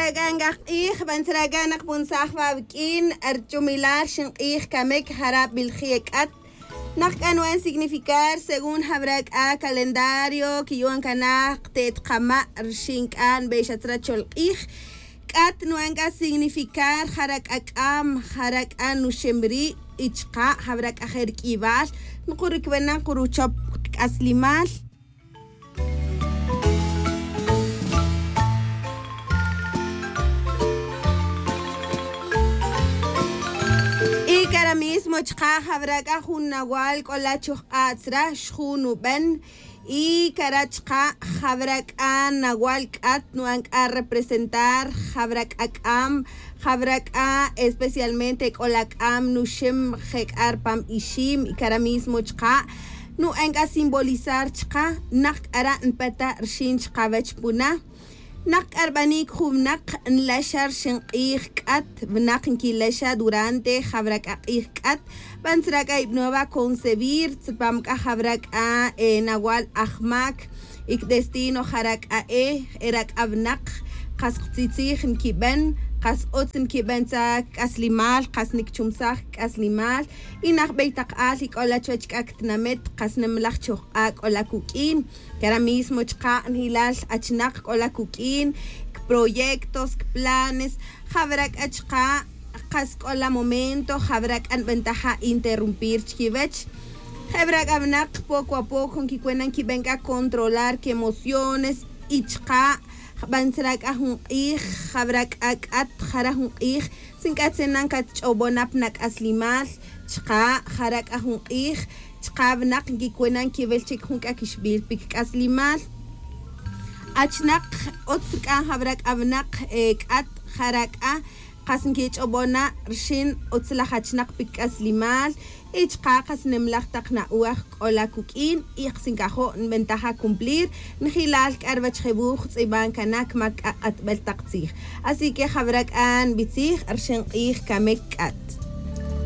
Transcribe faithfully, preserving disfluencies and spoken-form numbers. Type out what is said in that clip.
Ac'a nkaj k'ij bantzra ac'a nakpunsaj wa' wiq'uin. Rich'umilal xin k'ij camic jara' bilji' ec'at. Nak c'a nu'an significar según jawra c'a calendario quiyu'an cana kte't kama' rixin c'a nbe'xa tzra cholk'ij. C'at nu'an c'a significar jara' c'a c'am, jara' c'a nuxem ri'. Y chka' jawra c'a je' riq'uibal nkuric wena' nkuruchop kac'aslimal. Y cara mismo chka' jawra c'a jun nawal c'o la chojk'a' tzra xjun nuben. Y cara chka' jawra c'a nawal c'at nu'an c'a representar jawra c'a c'am, jawra c'a especialmente c'o la c'am nuxem je' c'a ripam ixim. Y cara mismo chka' nu'an c'a simbolizar chka' nak c'ara' npeta' rixin chkawech puna. Nak c'a rbanic jun winak nlexa rixin k'ij c'at, winak nquilexa durante jawra c'a k'ij c'at. Bantzra c'a ibnowa concebir tzipam c'a jawra c'a nawal ajmac. Y cdestino jara' c'a e era c'a winak kas ktzitzij nquiben, kas utz nquiben tzra cac'aslimal, kas nicchumsaj cac'aslimal. Y najbey tak al y c'o la chuwech c'a ctinamet kas nimlaj chojk'a' c'o la cuq'uin. Cara mismo chka' njilal achnak c'o la cuq'uin, cproyectos, cplanes. Jawra c'a chka' kas c'o la momento jawra c'a nbentaja interrumpir chiquiwech. Jawra c'a winak poco a poco nquicuena nquiben c'a controlar quemociones. Y chka' jban tzra c'a jun k'ij jawra c'a c'at jara jun k'ij si nc'atzena catch'obona pa nac'aslimal. Chka' jara c'a jun k'ij chka' winak nquicuena nquiwil chic jun c'a quixbil pi cac'aslimal. Achnak utz c'a jawra c'a winak c'at jara c'a kas nquich'obona rixin utz laj achnak pi cac'aslimal. Y chka' kas nimlaj tak na'uaj c'o la cuq'uin y kas ncajo' nbentaja cumplir njilal c'a ruwech je' wuj tz'iban cana cmac c'a k'atbel tak tzij. Así que jawra c'a nbitzij rixin k'ij camic c'at.